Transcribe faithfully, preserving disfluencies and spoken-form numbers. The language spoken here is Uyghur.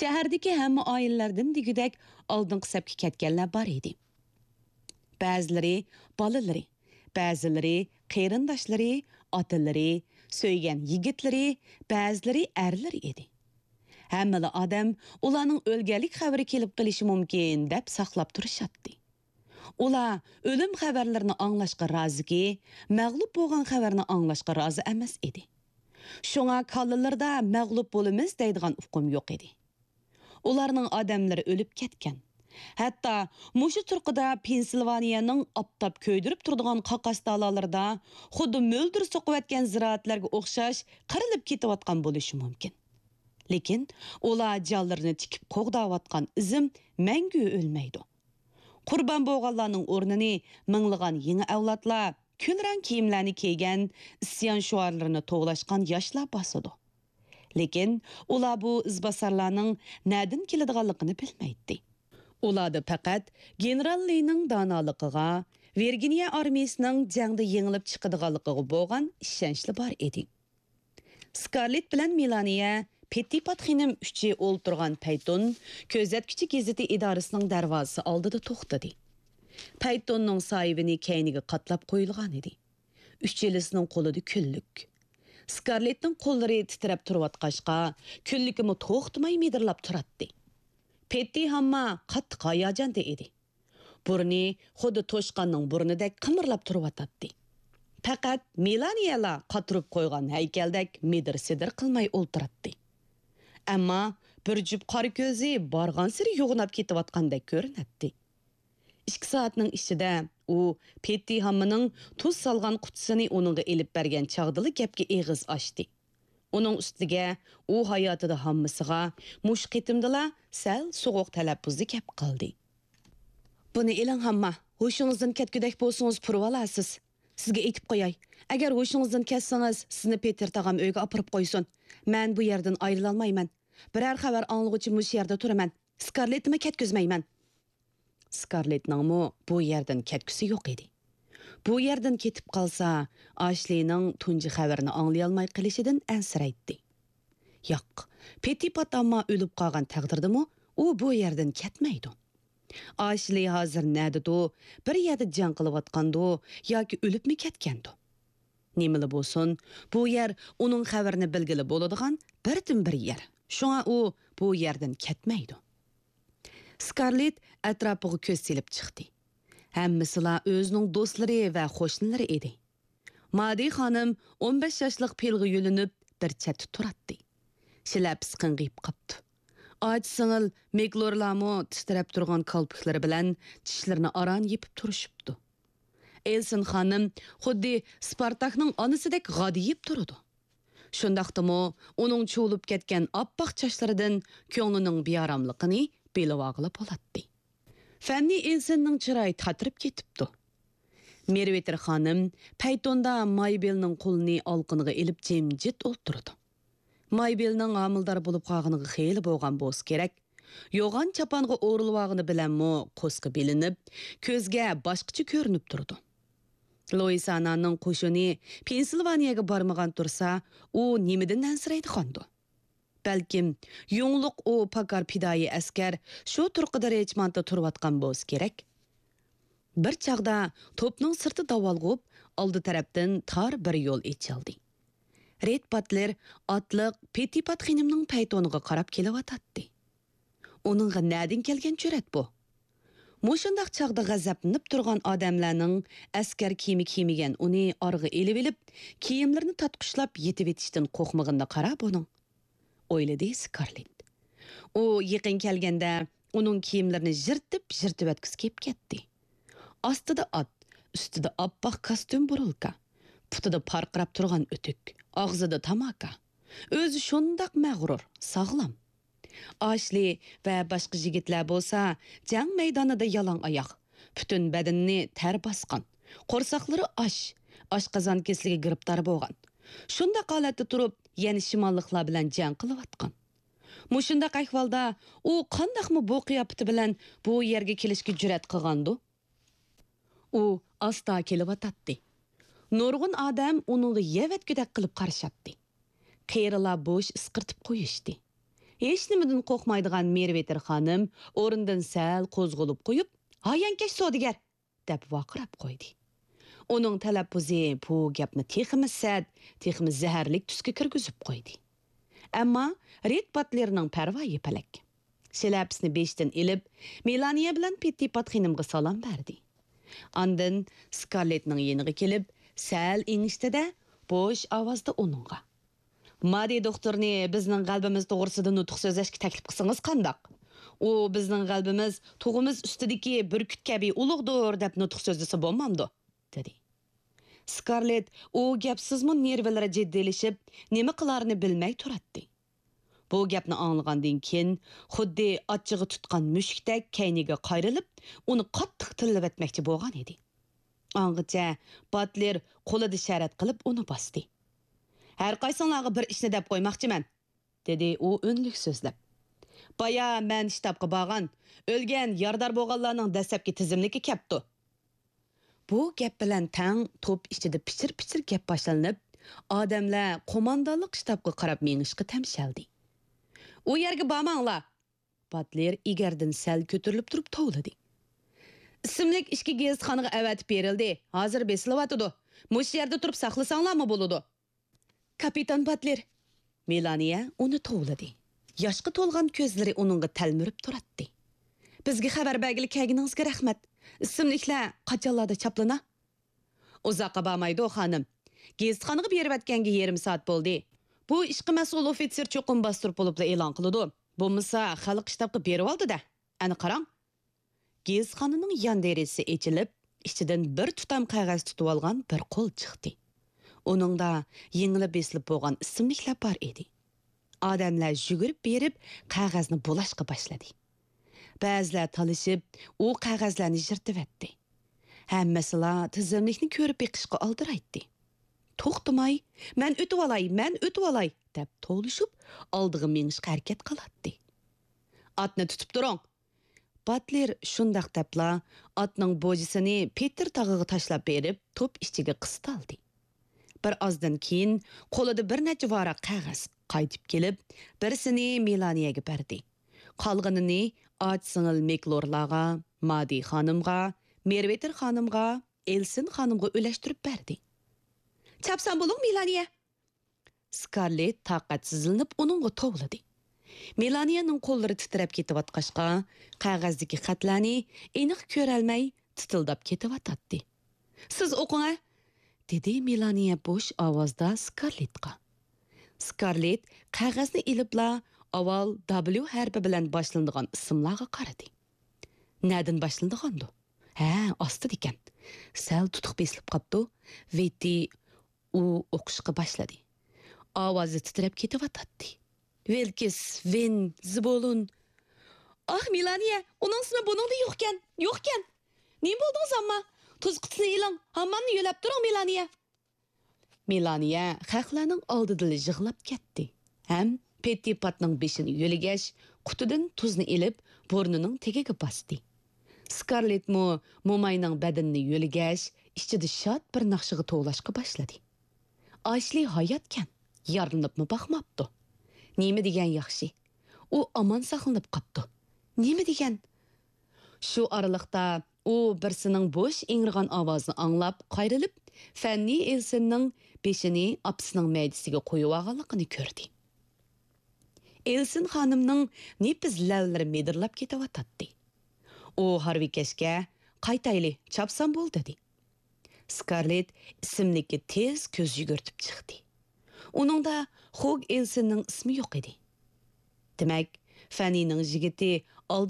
شەھەردىكى ھەممە ئائىلىلەردىن دېگۈدەك ئالدىنقى سەپكە كەتكەنلەر بار ئىدى. بەزىلىرى بالىلىرى، بەزىلىرى قېرىنداشلىرى، ئاتىلىرى، سۆيگەن يىگىتلىرى، بەزىلىرى ئەرلىرى ئىدى. ھەممىلا ئادەم ئۇلارنىڭ ئۆلگەنلىك خەۋىرى كېلىپ قېلىشى مۇمكىن دەپ ساقلاپ تۇرۇشاتتى. ئۇلار ئۆلۈم خەۋەرلىرىنى ئاڭلاشقا رازىكى، مەغلۇپ بولغان خەۋەرنى ئاڭلاشقا رازى ئەمەس ئىدى. شۇڭا كاللىلىرىدا مەغلۇپ بولىمىز دەيدىغان ئۇقۇم يوق ئىدى. ئۇلارنىڭ ئادەملىرى ئۆلۈپ كەتكەن. ھەتتا مۇشۇ تۇرقىدا پېنسىلۋانىيەنىڭ ئاپتاپ كۆيدۈرۈپ تۇرىدىغان قاقاس تالالىرىدا خۇددى مۆلدۈر سوقۇۋەتكەن زىرائەتلەرگە ئوخشاش قىرىلىپ كېتىۋاتقان بولۇشى مۇمكىن. لېكىن ئۇلار جانلىرىنى تىكىپ قوغداۋاتقان ئىزىم مەڭگۈ ئۆلمەيدۇ. قۇربان بولغانلارنىڭ ئورنىنى مىڭلىغان يېڭى ئەۋلادلار، كۈلرەڭ كىيىملەرنى كىيگەن، ئىسيان شوئارلىرىنى توۋلاشقان ياشلار باسىدۇ. لېكىن ئۇلار بۇ ئىزباسارلارنىڭ نەدىن كېلىدىغانلىقىنى بىلمەيتتى. ئۇلاردا پەقەت گېنېرال لىنىڭ دانالىقىغا، ۋىرگىنىيە ئارمىيىسىنىڭ جەڭدە يېڭىلىپ چىقىدىغانلىقىغا بولغان ئىشەنچلا بار ئىدى. سكارلېت بىلەن مېلانىيە پېتتىپات خېنىم ئۈچى ئولتۇرغان پەيتون كۆزەتكۈچى گېزىتى ئىدارىسىنىڭ دەرۋازىسى ئالدىدا توختىدى. پەيتوننىڭ ساھىبىنى كەينىگە قاتلاپ قويۇلغان ئىدى. ئۈچىلىسىنىڭ قولىدا كۈنلۈك. سكارلېتنىڭ قوللىرى تىترەپ تۇرۇۋاتقاچقا، كۈنلۈكىمۇ توختىماي مىدىرلاپ تۇراتتى. پېتتى ھامما قاتتىق ھاياجاندا ئىدى. بۇرنى خۇددى توشقاننىڭ بۇرنىدەك قىمىرلاپ تۇرۇۋاتاتتى. پەقەت مېلانىيەلا قاتۇرۇپ قويغان ھەيكەلدەك مىدىر-سىدىر قىلماي ئولتۇراتتى. ئەمما بىر جۈپ قارا كۆزى بارغانسېرى يوغىناپ كېتىۋاتقاندەك كۆرۈنەتتى. ئىككى سائەتنىڭ ئىچىدە ئۇ پېتتى ھاممىنىڭ تۇز سالغان قۇتىسىنى ئۇنىڭغا ئېلىپ بەرگەن چاغدىلا گەپكە ئېغىز ئاچتى. ئۇنىڭ ئۈستىگە ئۇ ھاياتىدا ھاممىسىغا مۇشۇ قېتىمدىلا سەل سوغۇق تەلەپپۇزدا گەپ قىلدى. بۇنى ئېلىڭ ھامما، ھوشىڭىزدىن كەتكۈدەك بولسىڭىز پۇرىۋالارسىز. سىزگە ئېيتىپ قوياي، ئەگەر ھوشىڭىزدىن كەتسىڭىز، سىزنى پېتېر تاغام ئۆيگە ئاپىرىپ قويسۇن. مەن بۇ يەردىن ئايرىلالمايمەن. بىرەر خەۋەر ئاڭلىغۇچە مۇشۇ يەردە تۇرىمەن. سكارلېتنىمۇ كەتكۈزمەيمەن. سكارلېتنىڭمۇ بۇ يەردىن كەتكۈسى يوق ئىدى. بۇ يەردىن كېتىپ قالسا، ئاشلىنىڭ تۇنجى خەۋىرىنى ئاڭلىيالماي قېلىشىدىن ئەنسىرەيتتى. ياق، پېتىپات ئامما ئۆلۈپ قالغان تەقدىردىمۇ ئۇ بۇ يەردىن كەتمەيدۇ. ئاشلى ھازىر نەدىدۇ؟ بىر يەردە جەڭ قىلىۋاتقاندۇ ياكى ئۆلۈپمۇ كەتكەندۇ؟ نېمىلا بولسۇن، بۇ يەر ئۇنىڭ خەۋىرىنى بىلگىلى بولىدىغان بىردىنبىر يەر. شۇڭا ئۇ بۇ يەردىن كەتمەيدۇ. سكارلېت ئەتراپىغا كۆز سېلىپ چىقتى. ھەممىسىلا ئۆزىنىڭ دوستلىرى ۋە قوشنىلىرى ئىدى. مادى خانىم ئون بەش ياشلىق پىلغا يۆلىنىپ، بىر چەتتە تۇراتتى. شىلەپىسى قىڭغىيىپ قاپتۇ. ئاچا سىڭىل مىگلورلارمۇ تىترەپ تۇرغان كالپۇكلىرى بىلەن چىشلىرىنى ئاران يېپىپ تۇرۇشۇپتۇ. ئېلسىن خانىم خۇددى سپارتاكنىڭ ئانىسىدەك غادىيىپ تۇرىدۇ. شۇنداقتىمۇ ئۇنىڭ چۇۋۇلۇپ كەتكەن ئاپئاق چاچلىرىدىن كۆڭلىنىڭ بىئاراملىقىنى بىلىۋالغىلى بولاتتى. فەننى ئېلسىننىڭ چىرايى تاتىرىپ كېتىپتۇ. مېرۋېتىر خانىم پەيتوندا مايبېلنىڭ قولىنى ئالىقىنىغا ئېلىپ جىمجىت ئولتۇرىدۇ. مايبېلنىڭ ھامىلىدار بولۇپ قالغىنىغا خېلى بولغان بولسا كېرەك، يوغان چاپانغا ئورىلىۋالغىنى بىلەنمۇ قورسىقى بىلىنىپ، كۆزگە باشقىچە كۆرۈنۈپ تۇرىدۇ. لويىسانانىڭ قوشۇنى پېنسىلۋانىيەگە بارمىغان تۇرسا، ئۇ نېمىدىن ئەنسىرەيدىغاندۇ؟ بەلكىم يۇڭلۇق ئۇ پاكار پىدائىي ئەسكەر شۇ تۇرقىدا رېچمانتتا تۇرۇۋاتقان بولسا كېرەك. بىر چاغدا توپنىڭ سىرتى داۋالغۇپ، ئالدى تەرەپتىن تار بىر يول ئېچىلدى. رېد باتلېر ئاتلىق پېتىپات خېنىمنىڭ پەيتونىغا قاراپ كېلىۋاتاتتى. ئۇنىڭغا نەدىن كەلگەن جۈرئەت بۇ؟ مۇشۇنداق چاغدا غەزەپلىنىپ تۇرغان ئادەملەرنىڭ ئەسكەر كىيىمى كىيمىگەن ئۇنى ئارىغا ئېلىۋېلىپ، كىيىملىرىنى تارتقۇچلاپ يېتىۋېتىشتىن قورقمىغىنىغا قارا بۇنىڭ، ئويلىدى سكارلېت. ئۇ يېقىن كەلگەندە ئۇنىڭ كىيىملىرىنى يىرتىپ-يىرتىۋەتكۈسى كېلىپ كەتتى. ئاستىدا ئات، ئۈستىدە ئاپئاق كاستيۇم بۇرۇلكا، پۇتىدا پارقىراپ تۇرغان ئۆتۈك، ئاغزىدا تاماكا. ئۆزى شۇنداق مەغرۇر، ساغلام. ئاشلى ۋە باشقا يىگىتلەر بولسا جەڭ مەيدانىدا يالاڭ ئاياغ، پۈتۈن بەدىنىنى تەر باسقان، قورساقلىرى ئاش، ئاشقازان كېسىلىگە گىرىپتار بولغان، شۇنداق ھالەتتە تۇرۇپ يەنە شىماللىقلار بىلەن جەڭ قىلىۋاتقان. مۇشۇنداق ئەھۋالدا ئۇ قانداقمۇ بۇ قىياپىتى بىلەن بۇ يەرگە كېلىشكە جۈرئەت قىلغاندۇ؟ ئۇ ئاستا كېلىۋاتاتتى. نۇرغۇن ئادەم ئۇنىڭغا يەۋەتكۈدەك قىلىپ قارىشاتتى. قېرىلار بوش ئىسقىرتىپ قويۇشتى. ھېچنېمىدىن قورقمايدىغان مېرۋېتېر خانىم ئورنىدىن سەل قوزغىلىپ قويۇپ، «ھايانكەش سودىگەر!» دەپ ۋارقىراپ قويدى. ئۇنىڭ تەلەپپۇزى بۇ گەپنى تېخىمۇ سەت، تېخىمۇ زەھەرلىك تۈسكە كىرگۈزۈپ قويدى. ئەمما رېد باتلېرنىڭ پەرۋايى پەلەك. شىلەپىسىنى بېشىدىن ئېلىپ، مېلانىيە بىلەن پېتتىپات خېنىمغا سالام بەردى. ئاندىن سكارلېتنىڭ يېنىغا كېلىپ، سەل ئېڭىشتى-دە، بوش ئاۋازدا ئۇنىڭغا: «مادى دوختۇرنى بىزنىڭ غەلىبىمىز توغرىسىدا نۇتۇق سۆزلەشكە تەكلىپ قىلسىڭىز قانداق؟ ئۇ بىزنىڭ غەلىبىمىز تۇغىمىز ئۈستىدىكى بۈركۈت كەبى ئۇلۇغدۇر دەپ نۇتۇق سۆزلىسە بولمامدۇ؟» دېدى. سكارلېت ئۇ گەپسىزمۇ نېرۋىلىرى جىددىيلىشىپ، نېمە قىلارىنى بىلمەي تۇراتتى. بۇ گەپنى ئاڭلىغاندىن كېيىن، خۇددى ئاچچىقى تۇتقان مۈشۈكتەك كەينىگە قايرىلىپ، ئۇنى قاتتىق تىللىۋەتمەكچى بولغان ئىدى. ئاڭغىچە باتلېر قولىدا شەرەت قىلىپ ئۇنى باستى. «ھەرقايسىڭلارغا بىر ئىشنى دەپ قويماقچىمەن»، دېدى ئۇ ئۈنلۈك سۆزلەپ. «بايا مەن شتابقا بارغان، ئۆلگەن، يارىدار بولغانلارنىڭ دەسلەپكى تىزىملىكى كەپتۇ.» بۇ گەپ بىلەن تەڭ توپ ئىچىدە پىچىر-پىچىر گەپ باشلىنىپ، ئادەملەر قوماندانلىق شتابقا قاراپ مېڭىشقا تەمشەلدى. «ئۇ يەرگە بارماڭلار!» باتلېر ئېگەردىن سەل كۆتۈرۈلۈپ تۇرۇپ توۋلىدى. «ئىسىملىك ئىككى گېزىتخانىغا ئەۋەتىپ بېرىلدى، ھازىر بېسىلىۋاتىدۇ. مۇشۇ يەردە تۇرۇپ ساقلىساڭلارمۇ بولىدۇ.» «كاپىتان باتلېر!» مېلانىيە ئۇنى توۋلىدى. ياشقا تولغان كۆزلىرى ئۇنىڭغا تەلمۈرۈپ تۇراتتى. «بىزگە خەۋەر بەرگىلى كەلگىنىڭىزگە رەھمەت. ئىسىملىكلەر قاچانلاردا چاپلىنا؟» «ئۇزاققا بارمايدۇ، خانىم. گېزىتخانىغا بېرىۋەتكەنگە يېرىم سائەت بولدى. بۇ ئىشقا مەسئۇل ئوفىتسېر چوقۇم باستۇرۇپ بولۇپلا ئېلان قىلىدۇ. بولمىسا خەلق شتابقا بېرىۋالدى-دە. ئەنە قاراڭ.» گېزىتخانىنىڭ يان دېرىزىسى ئېچىلىپ، ئىچىدىن بىر تۇتام قەغەز تۇتۇۋالغان بىر قول چىقتى. ئۇنىڭدا يېڭىلا بېسىلىپ بولغان ئىسىملىكلەر بار ئىدى. ئادەملەر يۈگۈرۈپ بېرىپ، قەغەزنى بۇلاشقا باشلىدى. بەزىلەر تالىشىپ، ئۇ قەغەزلەرنى يىرتىۋەتتى. ھەممىسىلا تىزىملىكنى كۆرۈپ بېقىشقا ئالدىرايتتى. توختىماي، «مەن ئۆتۈۋالاي، مەن ئۆتۈۋالاي!» دەپ توۋلىشىپ، ئالدىغا مېڭىشقا ھەرىكەت قىلاتتى. «ئاتنى تۇتۇپ تۇرۇڭ!» باتلېر شۇنداق دەپلا ئاتنىڭ بوجىسىنى پېتىر تاغىغا تاشلاپ بېرىپ، توپ ئىچىگە قىستالدى. بىر ئازدىن كېيىن قولىدا بىر نەچچە ۋاراق قەغەز قايتىپ كېلىپ، بىرسىنى مېلانىيەگە بەردى. قالغىنىنى ئاچا-سىڭىل مېكلورلارغا، مادى خانىمغا، مېرۋېتېر خانىمغا، ئېلسىن خانىمغا ئۈلەشتۈرۈپ بەردى. «چاپسان بولۇڭ، مېلانىيە!» سكارلېت تاقەتسىزلىنىپ ئۇنىڭغا توۋلىدى. مېلانىيەنىڭ قوللىرى تىترەپ كېتىۋاتقاچقا، قەغەزدىكى خەتلەرنى ئېنىق كۆرەلمەي تىتىلداپ كېتىۋاتاتتى. «سىز ئوقۇڭ-ە!» دېدى مېلانىيە بوش ئاۋازدا سكارلېتقا. سكارلېت قەغەزنى ئېلىپلا ئاۋۋال دابليۇ ھەرپى بىلەن باشلىنىدىغان ئىسىملارغا قارىدى. نەدىن باشلىنىدىغاندۇ؟ ھە، ئاستىدىكەن. سەل تۇتۇق بېسىلىپ قاپتۇ. ۋېتى ئۇ ئوقۇشقا باشلىدى. ئاۋازى تىترەپ كېتىۋاتاتتى. «ۋىلكىس، ۋېن، زىبولۇن.» «ئاھ، مېلانىيە، ئۇنىڭ ئىسمى بۇنىڭدا يوقكەن، يوقكەن! نېمە بولدىڭىز، ئامما؟ تۇز قۇتىسىنى ئېلىڭ، ھاممامنى يۆلەپ تۇرۇڭ، مېلانىيە!» مېلانىيە خەقلەرنىڭ ئالدىدىلا يىغلاپ كەتتى ھەم پېتتىپاتنىڭ بېشىنى يۆلىگەچ، قۇتىدىن تۇزنى ئېلىپ، بۇرنىنىڭ تېگىگە باستى. سكارلېتمۇ موماينىڭ بەدىنىنى يۆلىگەچ، ئىچىدە شاد بىر ناخشىغا توۋلاشقا باشلىدى. ئاشلى ھاياتكەن، يارىلىنىپمۇ باقماپتۇ. نېمە دېگەن ياخشى، ئۇ ئامان ساقلىنىپ قاپتۇ. نېمە دېگەن؟ شۇ ئارىلىقتا ئۇ بىرسىنىڭ بوش ئىڭرىغان ئاۋازىنى ئاڭلاپ قايرىلىپ، فەننى ئېلسىننىڭ بېشىنى ئاپىسىنىڭ مەيدىسىگە قويۇۋالغانلىقىنى كۆردى. ئېلسىن خانىمنىڭ نېپىز لەۋلىرى مىدىرلاپ كېتىۋاتاتتى. ئۇ ھارۋىكەشكە، «قايتايلى، چاپسان بول» دېدى. سكارلېت ئىسىملىككە تېز كۆز يۈگۈرتۈپ چىقتى. ئۇنىڭدا خوگ ئېلسىننىڭ ئىسمى يوق ئىدى. دېمەك، فەننىنىڭ يىگىتى ئالدىن